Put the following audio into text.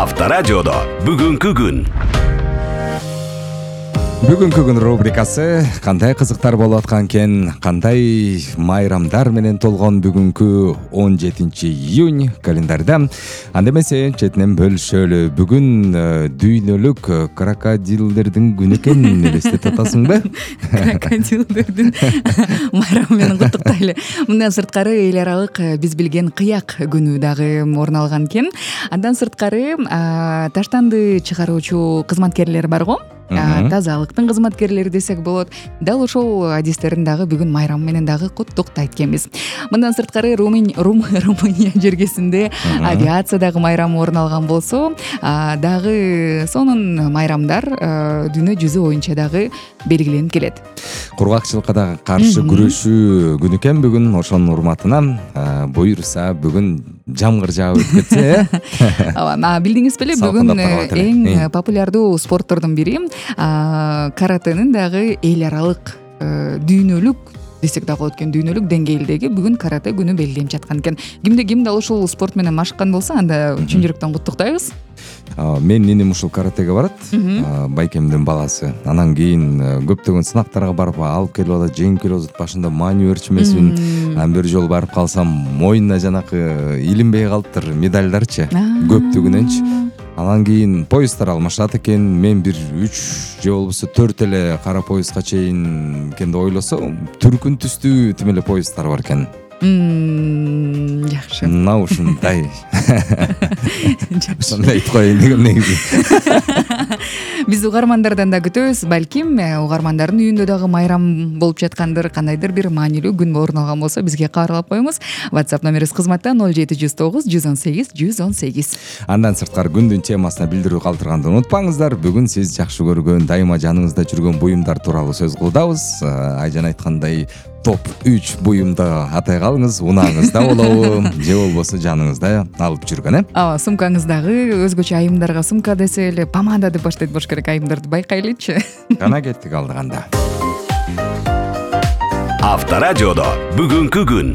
Авторадиодо бүгүнкү күн. Бүгүнкү күн рубрикасы кандай кызыктар болуп аткан экен, кандай майрамдар менен толгон бүгүнкү 17-июнь календарда. Анда эмесе четинен бөлүшөлү. Бүгүн дүйнөлүк крокодилдердин күнү экен, элестетип атасыңбы? Крокодилдердин майрамы менен куттуктайлы. Мындан сырткары эл аралык биз билген кыяк күнү дагы орун алган экен. Андан сырткары таштанды чыгаруучу кызматкерлер бар го. Тазалыктын кызматкерлери десек болот. Дал ошол адистерин дагы бүгүн майрамы менен дагы куттуктайт экенбиз. Мындан сырткары Румыния жергесинде авиациядагы майрам орун алган болсо, дагы сонун майрамдар дүйнө жүзү боюнча дагы белгиленип келет. Кургакчылыкка дагы каршы күрөшүү күнү экен бүгүн. Ошонун урматына буюрса бүгүн жамгыр жаап өтүп кетсе, Ооба, билдиңиз беле, бүгүн эң популярдуу спорттордун бири каратенин дагы эл аралык дүйнөлүк десек дагы болот экен, дүйнөлүк деңгээлдеги бүгүн карате күнү белгиленип жаткан экен. Ким дал ушул спорт менен машыккан болсо, анда чын жүрөктөн куттуктайбыз. Менин иним ушул каратеге барат, байкемдин баласы. Анан кийин көптөгөн сынактарга барып алып келип атат, жеңип келип атат. Башында маанилерчи эмесмин. Анан бир жолу барып калсам, моюнуна жанакы илинбей калыптыр медальдарчы, көптүгүнөнчү. Анан кийин поезддар алмашат экен. Мен бир 3 же болбосо 4 эле кара поездга чейин экен деп ойлосом, түркүн түстүү тим эле поезддар бар экен. Жакшы. Мына ушундай. Ушундай айтып коеюн дегем негизи. Биз угармандардан да күтөбүз. Балким угармандардын үйүндө дагы майрам болуп жаткандыр, кандайдыр бир маанилүү күн орун алган болсо бизге кабарлап коюңуз. WhatsApp номерибиз кызматта 0709 118 118. Андан сырткары күндүн темасына билдирүү калтырганды унутпаңыздар. Бүгүн сиз жакшы көргөн, дайыма жаныңызда жүргөн буюмдар тууралуу сөз кылдабыз. Айжан айткандай, топ 3 буюмду атай калыңыз, унааңызда болобу, же болбосо жаныңызда алып жүргөн, Ооба, сумкаңыздагы өзгөчө айымдарга сумка десе эле помада деп баштайт болуш керек, айымдарды байкайлычы. Жана кеттик алдыганда. Авторадиодо бүгүнкү күн.